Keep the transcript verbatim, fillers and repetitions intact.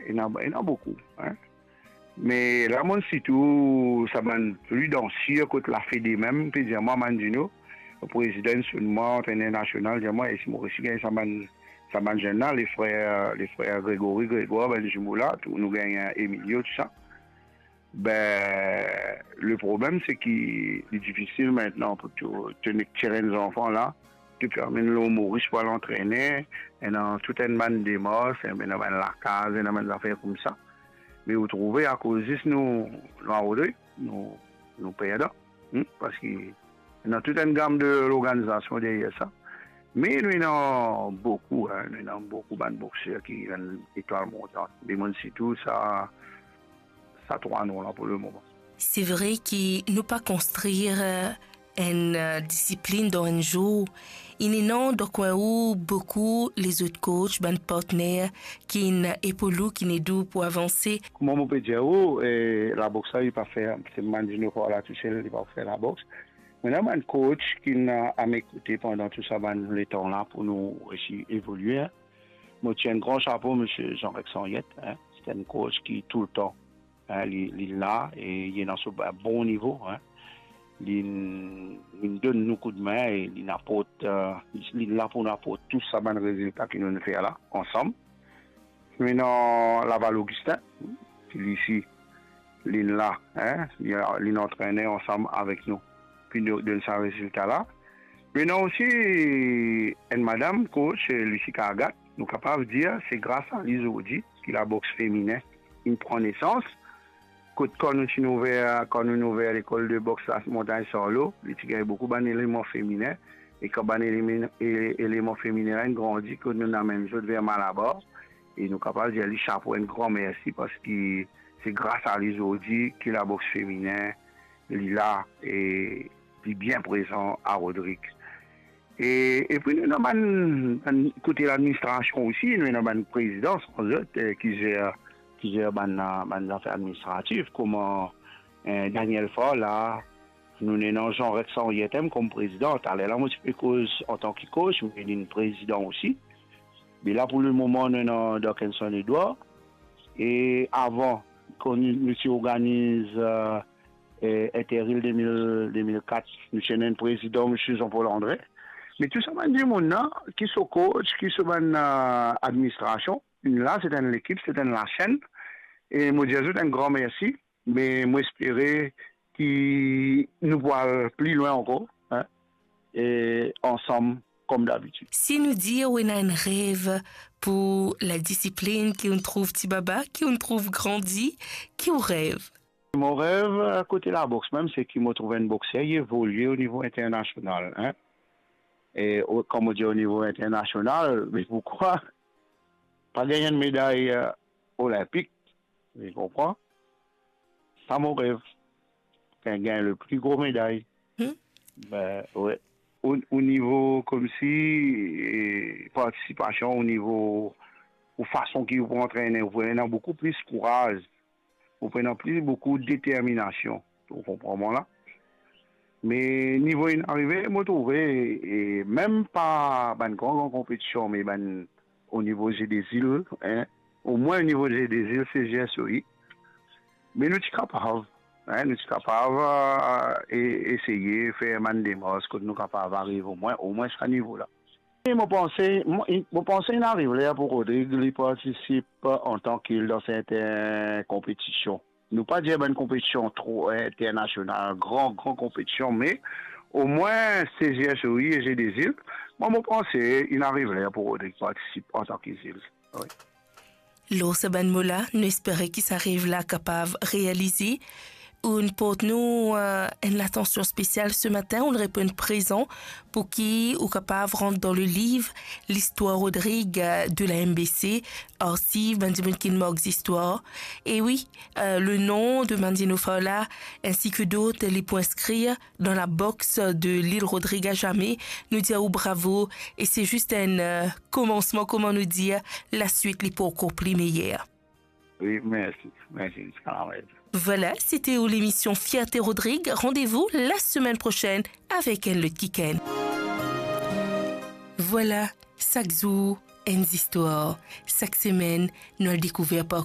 Ena, ena boukou, hein. Me la, mo sirtou sa bann pli dan sir kot lafede mem, pe dir mwa, Mandino, prezidan, sonn mwa, antrener nasional, dir mwa, e si mo resi gagn sa bann, sa bann zenn la, le frer, le frer Grégory, Grégoire, bann zimo la, tou, nou gagn Emilio, tou sa. Be, le problem, se ki li difisil aster pou to, to nek tir enn zanfan la, to pe amenn lor Moris pou al antrene, ena tou enn bann demars, ena bann lakaz, ena bann zafer koumsa. Me ou trouve, akoz zis nou, nou a Rodrig, nou, nou perdan, hmm, parski ena tou enn gam de lorganizasion deryer sa. Me nou ena boukou, hein, nou ena boukou bann bokser ki enn etwal montant. Me mo sirtou sa, sa trwa nom la pou lemoman. Se vre ki nou pa konstrir, eh, enn, eh, disiplin dan enn zour. Inn ena dan kwin ou boukou lezot coach, bann partner ki'nn epaul ou, ki'nn ed ou pou avanse. Kouma mo pe dir ou, eh, laboks la, li pa fer, se Mandino Fowler tousel, li pa fer laboks. Mo ena bann coach ki'nn a, a mo kote pandan tou sa bann letan la pou nou resi evolie, hein. Mo tir enn gran sapo, misie Jean-Rex Henriette, hein. Se enn coach ki toultan, hein, li, li la e li ena so ba-, bon nivo, hein. Li, li donn nou koudmin e li aport, eh, li la pou nou aport tou sa bann rezilta ki nou fer la, ansam. Nou ena Laval Augustin, ki li osi, li la, hein, li, li antrene ansam avek nou, pou nou donn sa rezilta la. Me ena osi enn madam coach, Lucie Cargat, nou kapav dir se gras a li zordi ki laboks feminen inn pran nesans. Kot kan nou ti ouver, kan nou ouver lekol de boks la Montagne Sarlo, li ti gagn boukou bann eleman feminen, e kan bann eleman, e-, eleman feminen la inn grandi, kot nou amenn zot ver Malabar, e nou kapav dir li sapo, enn gran mersi, parski se gras a li zordi ki laboks feminen, li la, e li bien prezan a Rodrig. E, epi nou ena bann, bann kote ladministrasion osi, nou ena bann prezidan, san zot, eh, ki zer, ki zer bann, bann zafer administratif, kouma, eh, Daniel Fowler, nou ena Jean-Rex Henriette kom prezidan. Taler la, mo ti pe koz antan ki coach, me li prezidan osi. Me la, pou lemoman, nou ena Darkinson Edouard. E avan, kan nou, nou ti organiz, eh, eh, Interilles de mil, de mil kat, nou ti ena enn prezidan, misie Jean-Paul André. Me tou sa bann dimoun la, ki so coach, ki so bann, eh, administrasion, la, se enn lekip, se enn lasenn. E mo dir zot enn gran mersi. Me mo espere ki nou pou al pli lwin ankor, hein, e ansam, kom dabitid. Si nou dir ou ena enn rev pou ladisiplin ki ou'nn trouv ti baba, ki ou'nn trouv grandi, ki ou rev? Mo rev, eh, kote laboks mem, se ki mo trouv enn bokser, li evolie o nivo internasional, hein. E o, kan mo dir o nivo internasional, me poukwa pa gagn enn meday, eh, olinpik? Ou konpran? Sa mo rev. Gagn, gagn le pli gro meday. Hmm. Be, we. O, o nivo koumsi, eh, partisipasion, o nivo, o fason ki ou pou antrene, ou pou ena boukou plis kouraz, ou pou ena plis boukou determinasion. Ou konpran mwa la? Me nivo inn arive, mo trouve, e mem pa bann gran, gran konpetision, me bann o nivo Jeux des Îles, hein, omwin o nivo Jeux des Îles, se G S O I. Me nou ti kapav, hein, nou ti kapav, eh, e-, eseye fer bann demars kot nou kapav ariv omwin, omwin sa nivo la. E mo panse, mo, mo panse inn ariv ler pou Rodrig, li partisip antan ki dan sertin konpetision. Nou pa dir bann konpetision tro internasional, gran, gran konpetision, me omwin se G S O I e Jeux des Îles, mwa, mo panse inn ariv ler pou Rodrig partisip antan ki Zil. Wi. Lor sa bann mo la, nou espere ki sa rev la kapav realize. Ou'nn port nou, eh, enn latansion spesial se matin, ou'nn reponn prezan pou ki ou kapav rant dan le liv L'histoire Rodrig, eh, de la M B C, arsiv, bann dimoun ki mark zistwar. E wi, eh, le nom de Mandino Fowler, ainsi que d'autres, li pou inskrir dan laboks de Lil Rodrig a zame. Nou dir ou bravo, e se zis enn, eh, komansman, kouma nou dir, laswit li pou ankor pli meyer. Wi, mersi. Mersi, ziska lamort. Voilà, c'était l'émission Fierté Rodrig. Rendez-vous la semaine prochaine avec un lot kikenn. Voilà, sak zour, enn zistwar. Sak semenn, nou al dekouver par